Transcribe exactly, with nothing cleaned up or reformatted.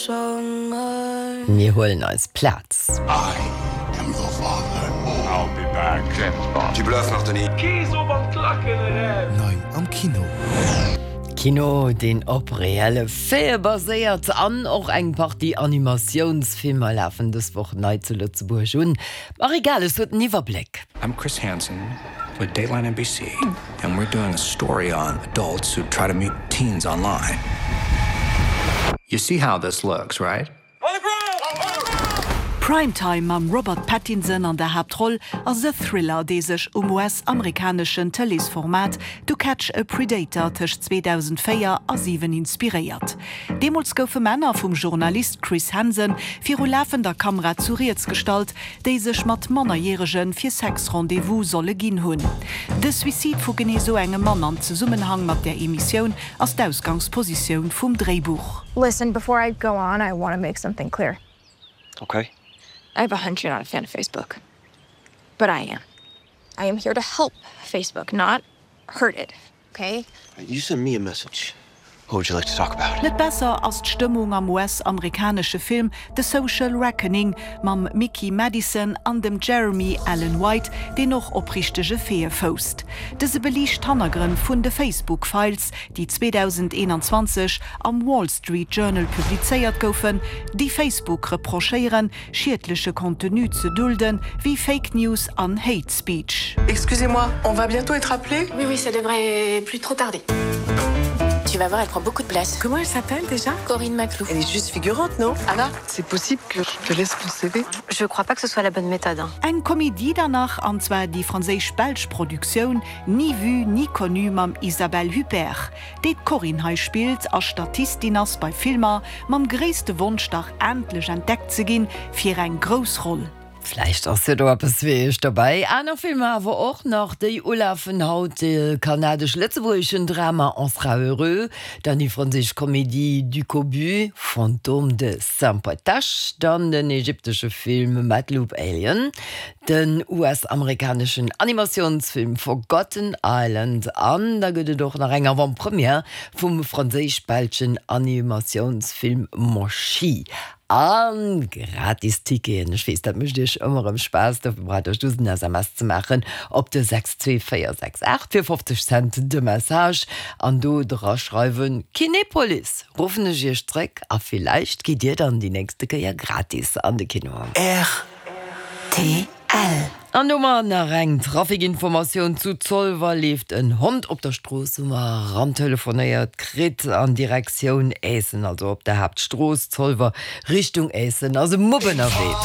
Mir huelen eis Plaz. I am your father. I'll be back. James Bond. Tu bluffes, Martoni. Nei am Kino. Kino, deen op reelle Faite baséiert an och eng Partie Animatiounsfilmer lafen dës Woch nei zu Lëtzebuerg un. Marie Gales huet den Iwwerbléck. I'm Chris Hansen with Dateline N B C, and we're doing a story on adults who try to meet teens online. You see how this looks, right? Primetime mam Robert Pattinson an der Haaptroll ass e Thriller, dee sech um U S-amerikaneschen Tëleesformat To Catch a Predator tëscht zweedausendvéier a siwen inspiréiert. Deemools goufe Männer vum Journalist Chris Hansen viru lafender Kamera zu Rieds gestallt, déi sech mat Mannerjärege fir Sex-Rendez-vouse solle ginn hunn. De Suicide vu genee sou engem Mann an Zesummenhang mat der Emissioun ass d'Ausgangspositioun vum Dréibuch. Listen, before I go on, I want to make something clear. Okay. I have a hunch you're not a fan of Facebook. But I am. I am here to help Facebook, not hurt it. Okay? You send me a message. What would you like to talk about? Net besser ass d'Stëmmung am U S-amerikanesche Film The Social Reckoning mam Mikey Madison an dem Jeremy Allen White, deen och op richtege Faite fousst. Dëse beliicht d'Hannergrënn vun de Facebook-Files, déi zweedausendeenanzwanzeg am Wall Street Journal publizéiert goufen, déi Facebook reprochéieren, schiedleche Contenu ze dulden, wéi Fake News an Hate Speech. Excusez-moi, on va bientôt être appelé? Oui, oui, ça devrait plus trop tarder. Tu vas voir, elle prend beaucoup de place. Comment elle s'appelle déjà? Corinne Maclou. Elle est juste figurante, non? Anna. C'est possible que je te laisse ton C V? Je crois pas que ce soit la bonne méthode, hein. Eng Komedie dann nach, an zwar déi franséisch-belsch Produktioun Ni vu ni connu mam Isabelle Huppert, déi d'Corinne hei spillt a Statistin ass bei Filmer, mam gréisste Wonsch dach endlech entdeckt ze ginn fir eng grouss Roll. Vläicht ass jo do eppes fir iech dobäi. Aner Filmer awer och nach, déi ulafen haut: de kanadesch-lëtzebuergeschen Drama On sera heureux, dann déi franséisch Komedie Ducobu, Fantôme de Saint-Patache, dann den ägyptesche Film Madloop Alien, den U S-amerikaneschen Animatiounsfilm Forgotten Island an da gëtt et och nach eng Avant-Première vum franséisch-belschen Animatiounsfilm Moshi. A gratis Ticketen, ech weess, dat mécht iech ëmmer erëm Spaass, dofir braucht der just en S M S ze maachen op de sechs zwee véier sechs aacht fir fofzeg Cent de Message an do dra schreiwen Kinepolis, ruffen ech iech zréck a villäicht gitt dir dann déi nächste Kéier gratis an de Kino. R T L. An hu mer nach eng Trafikinformatioun: Zu Zolwer leeft en Hond op der Strooss, hu mer rantelefonéiert kritt, an Direktioun Äessen, also op der Haaptstrooss Zolwer Richtung Äessen ass e Mupp ënnerwee.